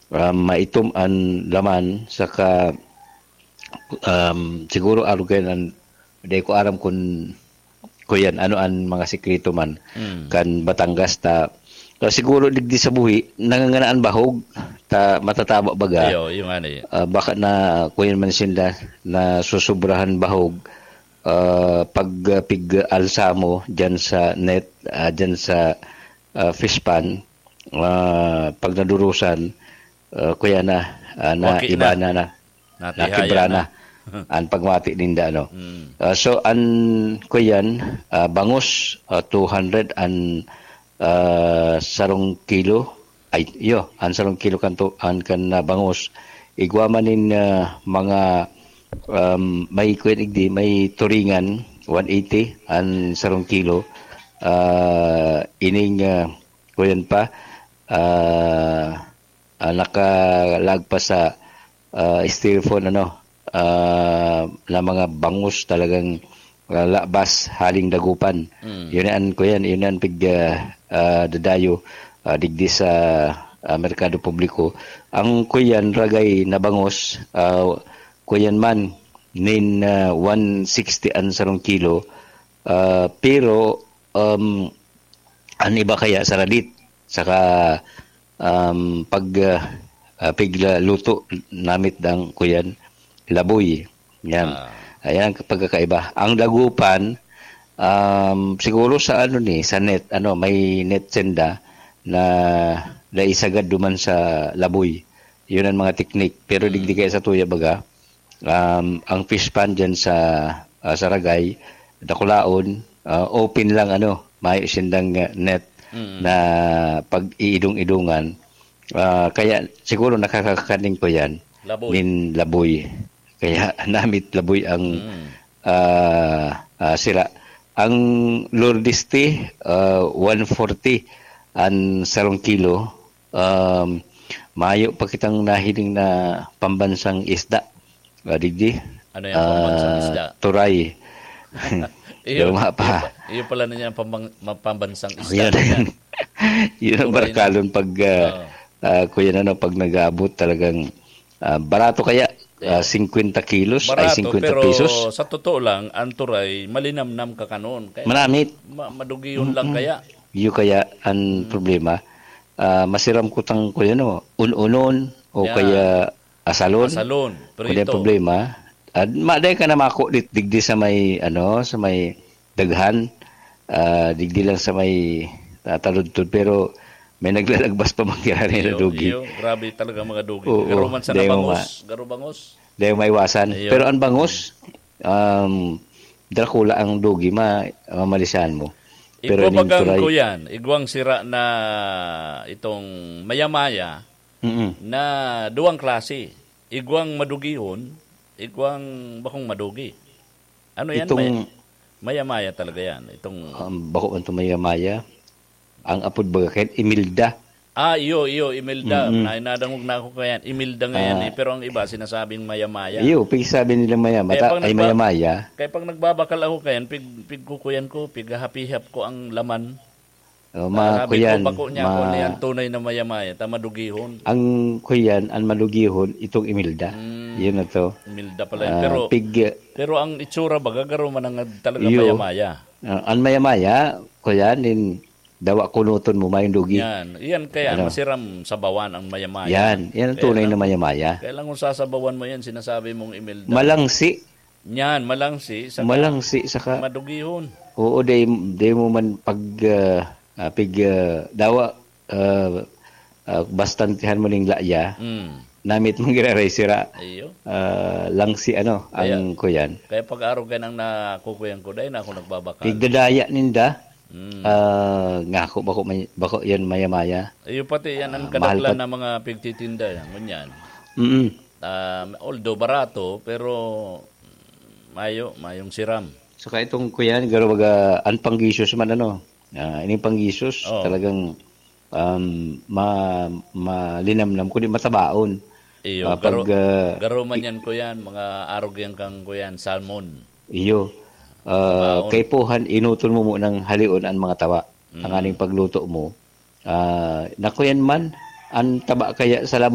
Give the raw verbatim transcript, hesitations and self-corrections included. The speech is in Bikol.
Ah, maitom an laman, saka, um, siguro arog kayo nan, di ko aram kun, kuyan, ano an mga sikreto man Mm. kan Batangas ta, ta siguro digdi sa buhi, nanganganaan bahog, ta matataba baga. Iyo, yung ano yun. Ah, baka na, kuyan man sinda, na susubrahan bahog, ah, pag, ah, pig-alsa mo dyan sa net, ah, dyan sa, ah, fish pond, ah, pag nadurusan, ah, kuya na, ah, na Waki iba na. na, na, Natihaya nakibra na. na. Ang pagmati ninda, ano. Mm. Ah, so, an, kuyan, ah, bangus, ah, two hundred an, ah, sarong kilo. Ay, iyo, an sarong kilo kan tu-, an kan, ah, bangus. Igwa man nin, ah, mga, um, may kuyan igdi, may turingan, one eighty an sarong kilo. Ah, ining, ah, kuyan pa, ah, ah, nakalag pa sa, ah, styrofoam, ano, ah, na mga bangus talagang, ah, labas haling dagupan. Mm. Yun an, kuyan, yun an pig, ah, ah, dadayo, ah, digdi sa, ah, merkado publiko. Ang kuyan, ragay na bangus, ah, kuyan man, nin, ah, one sixty an sarong kilo. Ah, pero, um, an iba kaya saradit, saka, um, pag, ah, ah, pigla luto namit dang kuyan, laboy. Yan. Ah. Ayan ang pagkakaiba. Ang dagupan, um, siguro sa ano ni, sa net, ano, may net senda na naisagad duman sa laboy. Yun ang mga teknik. Pero Mm. digdi kaya sa tuya baga, um, ang fish pond dyan sa, ah, Saragay, Dakulaon, ah, open lang, ano, may sindang, ah, net Mm. na pag-iidong-idungan. Ah, kaya siguro nakakakaning ko yan, Laboy. nin laboy. Kaya namit laboy ang, Mm. ah, ah, sira. Ang Lourdes tea, ah, one forty an sarong kilo. Um, mayo pa kitang nahiling na pambansang isda. Ah, digdi. Ano yung pambansang Ah, isda? Turay. Iyo, Luma pa. iyo pa, iyo pala na niya ang pambang-, ma-, pambansang isda Yan. niya. Yun ang Turay na. barkalon pag, ah, Oo. ah, kuya na, no, pag nag-aabot talagang, ah, barato kaya, Kaya ah, singkwenta kilos, ay, Barato, singkwenta pero pesos. sa totoo lang, ang turay, malinamnam ka kanon. Kaya Manamit. ma-, madugiyon lang Mm-mm. kaya. Iyo kaya ang Mm. problema. Ah, masiram kutang, kuya, no, un-unon o Yan. kaya asalon. Asalon, Kundi ang prito. problema, at maday ka na mako dit-, digdi sa may, ano, sa may daghan, ah, digdi lang sa may, ah, taludtod, pero may naglalagbas pa man kaya na Iyo, dugi. iyo, grabe talaga mga dugi. Oo, Garo man sana demo bangus, ma- garo bangus. Demo maiwasan. Iyo. Pero ang bangus, um, Dracula ang dugi, ma-, mamalisan mo. Pero Igwa ning bagang turay kuyan, igwang sira na itong mayamaya Mm-mm. na duwang klase. Igwang madugihon, igwang bakong madugi. Ano yan? Itong May-, mayamaya talaga yan. Itong Um, bako man itong mayamaya. Ang apod baga kayan, Imelda. Ah, iyo, iyo, Imelda. Mm-mm. Na, nadangog na ako kayan. Imelda nga yan Ah. eh. Pero ang iba, sinasabing mayamaya. Iyo, pigsabi nila mayama-, Kaya ta-, pag ay nagba-, mayamaya. kaya pag nagbabakal ako kayan, pig-, pigkukuyan ko, pighahapihap ko ang laman. Oh, ma-, Sabi ko, kuyan, bako niya ako ma-, niyan, tunay na mayamaya, ta madugihon. Ang kuyan, ang madugihon, itong Imelda. Mm. Yun na to. Imelda pala yun. Ah, Pero, pig- pero ang itsura baga, garo man ang talaga Iyo. mayamaya. Ah, ang mayamaya, kuyan, din, dawa kunuton mo, mayong dugi. Yan. Yan kaya, Ano? masiram sabawan ang mayamaya. Yan. Yan ang Kaya tunay lang, na mayamaya. kaya lang kung sasabawan mo yan, sinasabi mong Imelda. Malangsi. Yan, malangsi, saka Malangsi, saka madugihon. Oo, di, di mo man pag, ah, ah, pig, ah, dawa, ah, ah, bastantihan mo ning laya, Mm. namit mong giraray sira. Iyo. Ah, langsi, ano, Kaya, ang kuyan. kaya pag-arog yan ang nakukuyan ko, dahil na ako nagbabakal. Pigdadaya ninda, Mm. ah, ngako, bako may, bako yan mayamaya. Iyo pati yan ang Ah, mahal kadaklan pa. na mga pigtitinda yan, ngunyan. Mm-mm. Ah, although barato, pero mayo, mayong siram. Saka itong kuyan, garo baga, ang panggisos man, ano, ah, ining panggisos, Oo. talagang, um, ma-, malinamnam, kundi matabaon. Iyo, Ah, pag, garo, ah, garo man i- yan, kuyan, mga arog yan kang, kuyan, salmon. Iyo. Ah, Tabaon. kaipuhan, inuton mo munang halion ang mga taba. Mm. Tanganing pagluto mo. Ah, nakuyan man, ang taba kaya sa